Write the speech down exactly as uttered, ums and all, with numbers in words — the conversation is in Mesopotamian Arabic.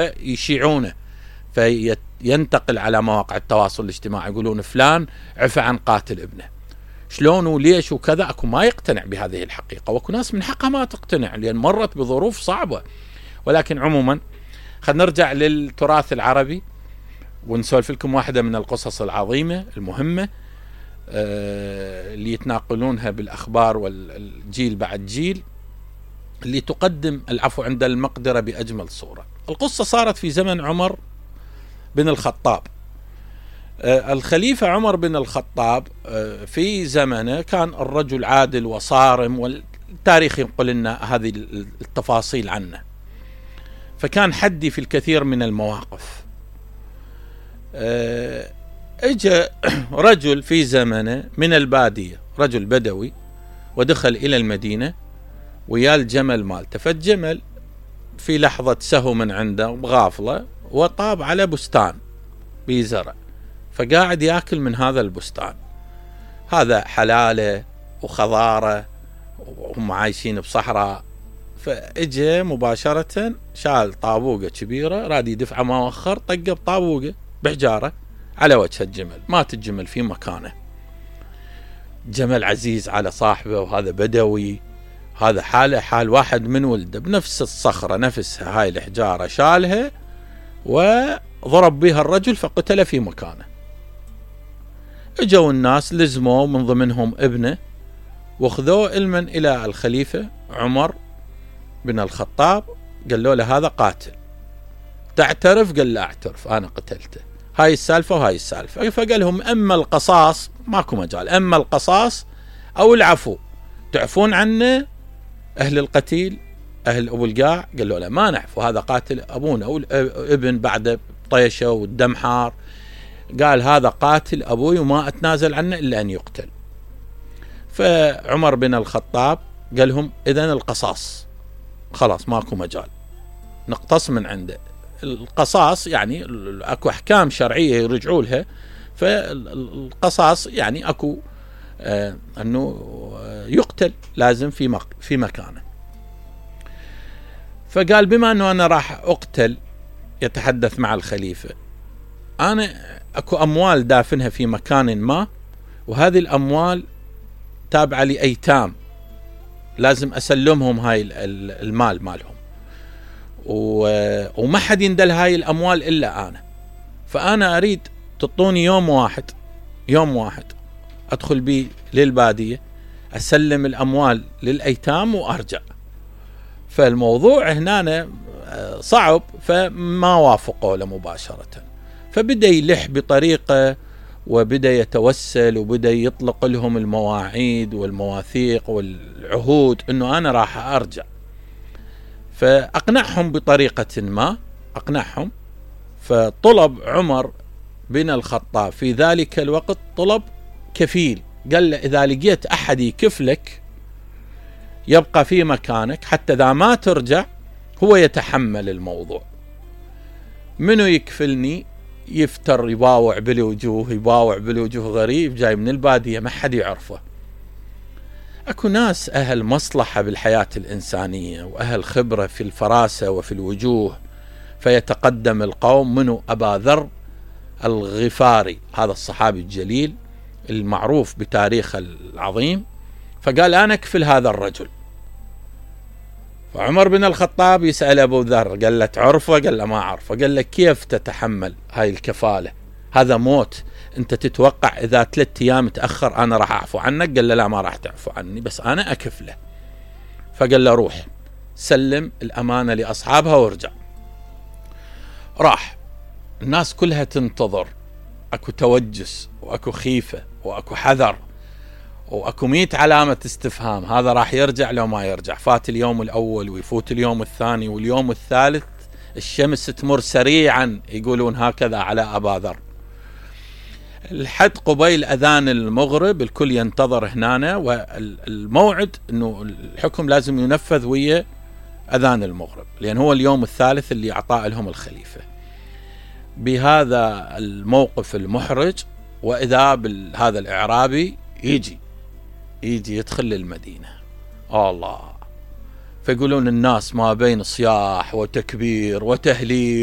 يشيعونه فينتقل على مواقع التواصل الاجتماعي، يقولون فلان عفى عن قاتل ابنه، شلون وليش وكذا. اكو ما يقتنع بهذه الحقيقة، واكو ناس من حقها ما تقتنع لأن مرت بظروف صعبة. ولكن عموما خلينا نرجع للتراث العربي ونسولف لكم واحدة من القصص العظيمة المهمة آه اللي يتناقلونها بالأخبار والجيل بعد جيل، اللي تقدم العفو عند المقدرة بأجمل صورة. القصة صارت في زمن عمر بن الخطاب. آه الخليفة عمر بن الخطاب آه في زمنه كان الرجل عادل وصارم، والتاريخ ينقل لنا هذه التفاصيل عنه، فكان حدي في الكثير من المواقف. آه اجى رجل في زمنه من البادية، رجل بدوي، ودخل إلى المدينة ويا الجمل مالته، فالجمل في لحظة سهو من عنده بغافلة وطاب على بستان بزرع، فقاعد ياكل من هذا البستان. هذا حلالة وخضارة وهم عايشين بصحراء. فاجى مباشرة شال طابوقة كبيرة راد يدفع مؤخر، طقه بطابوقة بحجارة على وجه الجمل، مات الجمل في مكانه. جمل عزيز على صاحبه، وهذا بدوي، هذا حاله حال واحد من ولده، بنفس الصخرة نفسها هاي الحجارة شالها وضرب بها الرجل فقتل في مكانه. اجوا الناس لزموا من ضمنهم ابنه واخذوه المن الى الخليفة عمر بن الخطاب، قالوا له هذا قاتل، تعترف؟ قال لا اعترف، انا قتلته، هاي السالفة وهاي السالفة. فقال لهم اما القصاص ماكو مجال، اما القصاص او العفو، تعفون عنه اهل القتيل اهل ابو القاع؟ قالوا لا ما نعفو، هذا قاتل ابونا او ابن بعد طيشه والدم حار. قال هذا قاتل ابوي وما اتنازل عنه الا ان يقتل. فعمر بن الخطاب قال لهم اذن القصاص، خلاص ماكو مجال نقتص من عنده. القصاص يعني اكو احكام شرعيه يرجعوا لها، فالقصاص يعني اكو آه انه يقتل لازم في مك في مكانه. فقال بما انه انا راح اقتل، يتحدث مع الخليفة، انا اكو اموال دافنها في مكان ما، وهذه الاموال تابعة لايتام، لازم اسلمهم هاي المال مالهم، وما حد يندل هاي الاموال الا انا. فانا اريد تعطوني يوم واحد، يوم واحد ادخل بيه للبادية، اسلم الاموال للايتام وارجع. فالموضوع هنا صعب، فما وافقوا له مباشرة. فبدأ يلح بطريقة وبدأ يتوسل وبدأ يطلق لهم المواعيد والمواثيق والعهود انه انا راح ارجع. فاقنعهم بطريقة ما، اقنعهم. فطلب عمر بن الخطاب في ذلك الوقت طلب كفيل، قال له اذا لقيت احد يكفلك يبقى في مكانك حتى اذا ما ترجع هو يتحمل الموضوع. منو يكفلني؟ يفتر يباوع بالوجوه، يباوع بالوجوه، غريب جاي من البادية ما حد يعرفه. اكو ناس اهل مصلحة بالحياة الانسانية واهل خبرة في الفراسة وفي الوجوه، فيتقدم القوم. منو؟ ابا ذر الغفاري، هذا الصحابي الجليل المعروف بتاريخ العظيم، فقال انا اكفل هذا الرجل. فعمر بن الخطاب يسأل ابو ذر، قال له تعرفه؟ قال له ما اعرفه. قال له كيف تتحمل هاي الكفالة؟ هذا موت، انت تتوقع اذا ثلاث ايام تأخر انا راح اعفو عنك؟ قال له لا ما راح تعفو عني، بس انا اكفله. فقال له روح سلم الامانة لاصحابها وارجع. راح، الناس كلها تنتظر، اكو توجس واكو خيفة واكو حذر واكو ميت علامة استفهام، هذا راح يرجع لو ما يرجع. فات اليوم الاول ويفوت اليوم الثاني واليوم الثالث، الشمس تمر سريعا، يقولون هكذا على ابا ذر. الحد قبيل اذان المغرب الكل ينتظر هنا، والموعد انه الحكم لازم ينفذ ويا اذان المغرب، لان هو اليوم الثالث اللي اعطاه لهم الخليفة. بهذا الموقف المحرج، واذا بهذا الاعرابي يجي يجي يدخل للمدينة. الله! فيقولون الناس ما بين صياح وتكبير وتهليل